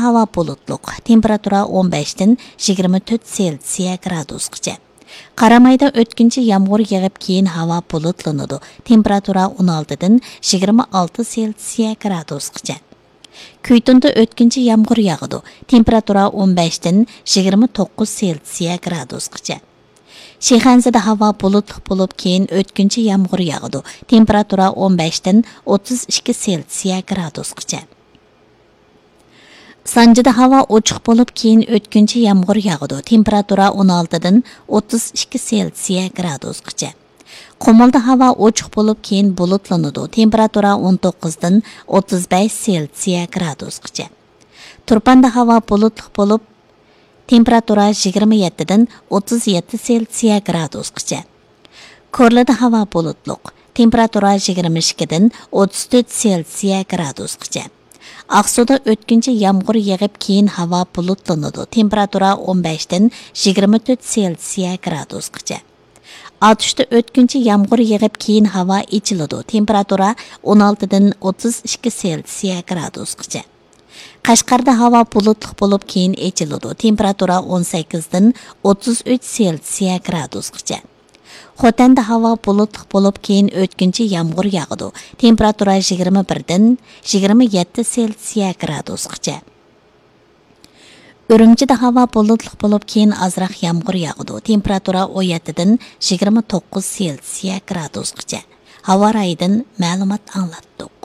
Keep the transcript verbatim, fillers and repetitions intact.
ھاۋا بۇلۇتلۇق، تېمپېراتۇرا ئون بەشتىن يىگىرمە تۆت سېلسىيە گرادۇسقىچە. قارامايدا ئۆتكۈنچى يامغۇر يېغىپ، كېيىن ھاۋا بۇلۇتلىنىدۇ، تېمپېراتۇرا ئون ئالتىدىن يىگىرمە ئالتە سېلسىيە گرادۇسقىچە. كۈيتۇندا ئۆتكۈنچى يامغۇر ياغىدۇ، تېمپېراتۇرا ئون بەشتىن يىگىرمە توققۇز سېلسىيە گرادۇسقىچە. شىخەنزىدە ھاۋا بۇلۇتلۇق بولۇپ، كېيىن ئۆتكۈنچى يامغۇر ياغىدۇ، تېمپېراتۇرا ئون بەشتىن ئوتتۇز ئىككى سېلسىيە گرادۇسقىچە. سانجىدا ھاۋا ئوچۇق بولۇپ، كېيىن ئۆتكۈنچى يامغۇر ياغىدۇ، تېمپېراتۇرا ئون ئالتىدىن ئوتتۇز ئىككى سېلسىيە گرادۇسقىچە. قۇمۇلدا ھاۋا ئوچۇق بولۇپ، كېيىن بۇلۇتلىنىدۇ، تېمپېراتۇرا ئون توققۇزدىن ئوتتۇز بەش سېلسىيە گرادۇسقىچە. تۇرپاندا ھاۋا بۇلۇتلۇق بولۇپ، تېمپېراتۇرا يىگىرمە يەتتىدىن ئوتتۇز يەتتە سېلسىيە گرادۇسقىچە. كورلىدا ھاۋا بۇلۇتلۇق، تېمپېراتۇرا يىگىرمە ئىككىدىن ئوتتۇز تۆت سېلسىيە گرادۇسقىچە. ئاقسۇدا ئۆتكۈنچى يامغۇر يېغىپ، كېيىن ھاۋا بۇلۇتلىنىدۇ، تېمپېراتۇرا ئون بەشتىن يىگىرمە تۆت سېلسىيە گرادۇسقىچە. ئاتۇشتا ئۆتكۈنچى يامغۇر يېغىپ، كېيىن ھاۋا ئېچىلىدۇ، تېمپېراتۇرا ئون ئالتىدىن ئوتتۇز ئىككى سېلسىيە گرادۇسقىچە. قەشقەردە ھاۋا بۇلۇتلۇق بولۇپ، كېيىن ئېچىلىدۇ، تېمپېراتۇرا ئون سەككىزدىن ئوتتۇز ئۈچ سېلسىيە گرادۇسقىچە. خوتەندە ھاۋا بۇلۇتلۇق بولۇپ، كېيىن ئۆتكۈنچى يامغۇر ياغىدۇ، تېمپېراتۇرا يىگىرمە بىردىن يىگىرمە يەتتە سېلسىيە گرادۇسقىچە. ئۈرۈمچىدە ھاۋا بۇلۇتلۇق بولۇپ، كېيىن ئازراق يامغۇر ياغىدۇ، تېمپېراتۇرا ئون يەتتىدىن يىگىرمە توققۇز سېلسىيە گرادۇسقىچە. ھاۋا رايىدىن مەلۇمات ئاڭلاتتۇق.